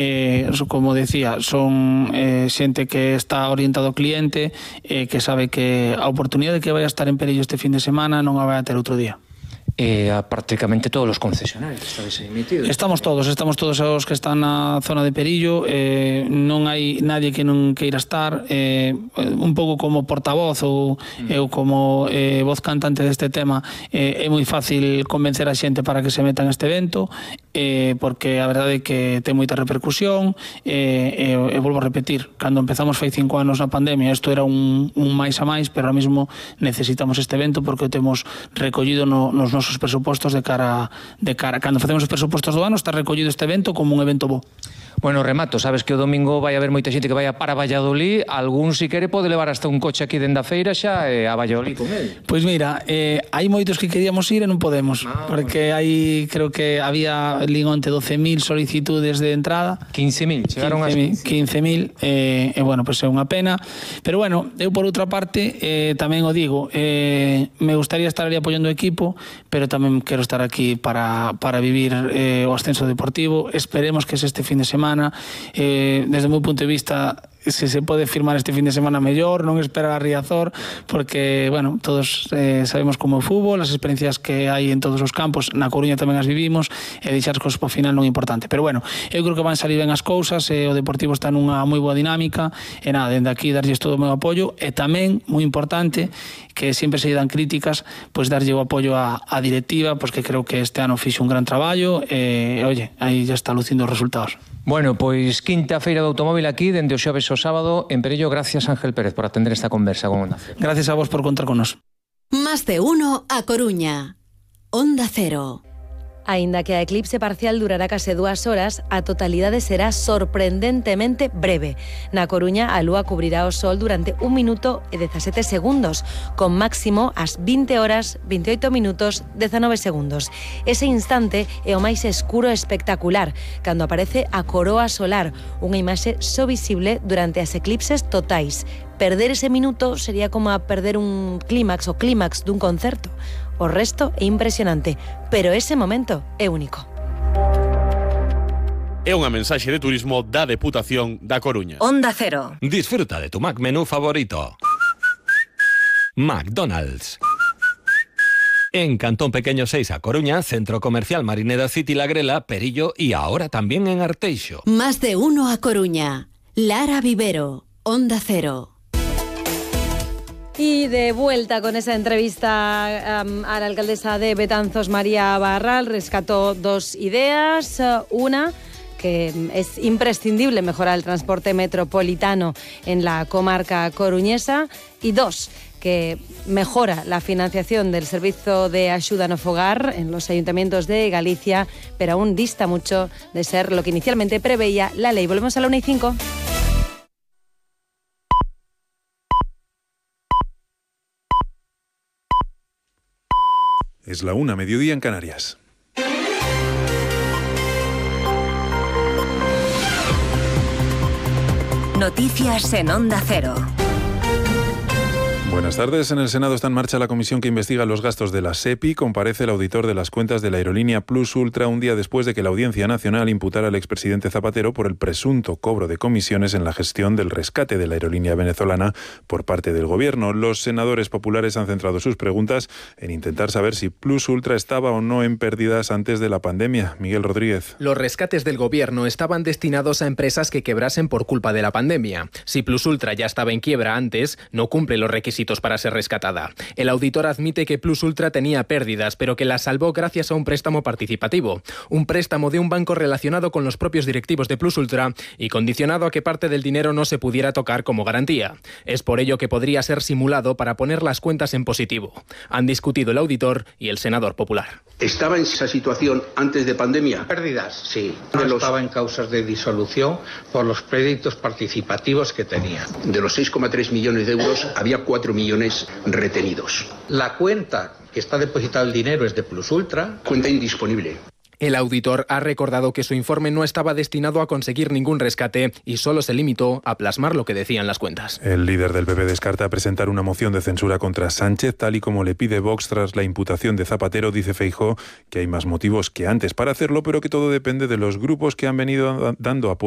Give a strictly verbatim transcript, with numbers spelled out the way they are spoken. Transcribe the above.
Eh, como decía, son eh, xente que está orientado ao cliente, eh, que sabe que a oportunidade que vai a estar en Perello este fin de semana non a vai a ter outro día. Eh, a prácticamente todos os concesionarios estáis aí metidos. Estamos todos, estamos todos os que están na zona de Perillo, eh, non hai nadie que non queira estar, eh, un pouco como portavoz ou mm. eu como eh, voz cantante deste tema, eh, é moi fácil convencer a xente para que se meta neste evento, eh, porque a verdade é que ten moita repercusión, e eh, eh, eh, volvo a repetir, cando empezamos fai cinco anos na pandemia, isto era un, un máis a máis, pero ahora mesmo necesitamos este evento porque o temos recollido no, nos nosos os presupostos de cara de cara cando facemos os presupostos do ano está recollido este evento como un evento bo. Bueno, remato, sabes que o domingo vai haber moita xente que vai para Valladolid, algún si quere pode levar hasta un coche aquí dende a feira xa e a Valladolid con el. Pois mira, eh, hai moitos que queríamos ir e non podemos, no, porque hai, creo que había lingonte doce mil solicitudes de entrada. quince mil, chegaron a quince mil, e eh, bueno, pois pues é unha pena, pero bueno, eu por outra parte eh, tamén o digo, eh, me gustaría estar ali apoiando o equipo, pero tamén quero estar aquí para, para vivir eh, o ascenso deportivo. Esperemos que es este fin de semana. Eh, desde o meu punto de vista, se se pode firmar este fin de semana mellor, non esperar a Riazor, porque, bueno, todos eh, sabemos como é o fútbol, as experiencias que hai en todos os campos, na Coruña tamén as vivimos, e deixar as cousas para o final non é importante. Pero, bueno, eu creo que van salir ben as cousas, e o Deportivo está nunha moi boa dinámica, e nada, dende aquí darlles todo o meu apoio, e tamén, moi importante, que sempre se dan críticas, pois darlle o apoio á, á directiva, pois que creo que este ano fixe un gran traballo, e, oye, aí já está lucindo os resultados. Bueno, pois quinta feira do automóvil aquí, dende o xoves ao sábado, en Perello. Gracias, Ángel Pérez, por atender esta conversa con Onda Cero. Gracias a vos por contar con nos. Más de uno a Coruña. Onda Cero. Aínda que a eclipse parcial durará case dúas horas, a totalidade será sorprendentemente breve. Na Coruña, a lúa cubrirá o sol durante un minuto e dezasete segundos, con máximo ás vinte horas, veintioito minutos, dezanove segundos. Ese instante é o máis escuro e espectacular, cando aparece a coroa solar, unha imaxe só visible durante as eclipses totais. Perder ese minuto sería como a perder un clímax o clímax dun concerto. O resto é impresionante, pero ese momento é único. É unha mensaxe de turismo da Deputación da Coruña. Onda Cero. Disfruta de tu Mac menú favorito. McDonald's. En Cantón Pequeño seis a Coruña, Centro Comercial Marineda City La Grela, Perillo y ahora también en Arteixo. Más de uno a Coruña. Lara Vivero, Onda Cero. Y de vuelta con esa entrevista um, a la alcaldesa de Betanzos, María Barral, rescató dos ideas. Una, que es imprescindible mejorar el transporte metropolitano en la comarca coruñesa. Y dos, que mejora la financiación del servicio de ayuda no fogar en los ayuntamientos de Galicia, pero aún dista mucho de ser lo que inicialmente preveía la ley. Volvemos a la una y cinco. Es la una, mediodía en Canarias. Noticias en Onda Cero. Buenas tardes. En el Senado está en marcha la comisión que investiga los gastos de la SEPI. Comparece el auditor de las cuentas de la aerolínea Plus Ultra un día después de que la Audiencia Nacional imputara al expresidente Zapatero por el presunto cobro de comisiones en la gestión del rescate de la aerolínea venezolana por parte del gobierno. Los senadores populares han centrado sus preguntas en intentar saber si Plus Ultra estaba o no en pérdidas antes de la pandemia. Miguel Rodríguez. Los rescates del gobierno estaban destinados a empresas que quebrasen por culpa de la pandemia. Si Plus Ultra ya estaba en quiebra antes, no cumple los requisitos para ser rescatada. El auditor admite que Plus Ultra tenía pérdidas, pero que las salvó gracias a un préstamo participativo. Un préstamo de un banco relacionado con los propios directivos de Plus Ultra y condicionado a que parte del dinero no se pudiera tocar como garantía. Es por ello que podría ser simulado para poner las cuentas en positivo. Han discutido el auditor y el senador popular. ¿Estaba en esa situación antes de pandemia? Pérdidas, sí. No los... estaba en causas de disolución por los créditos participativos que tenía. De los seis coma tres millones de euros, había cuatro millones retenidos. La cuenta que está depositado el dinero es de Plus Ultra. Cuenta indisponible. El auditor ha recordado que su informe no estaba destinado a conseguir ningún rescate y solo se limitó a plasmar lo que decían las cuentas. El líder del P P descarta presentar una moción de censura contra Sánchez, tal y como le pide Vox tras la imputación de Zapatero. Dice Feijóo que hay más motivos que antes para hacerlo, pero que todo depende de los grupos que han venido dando apoyo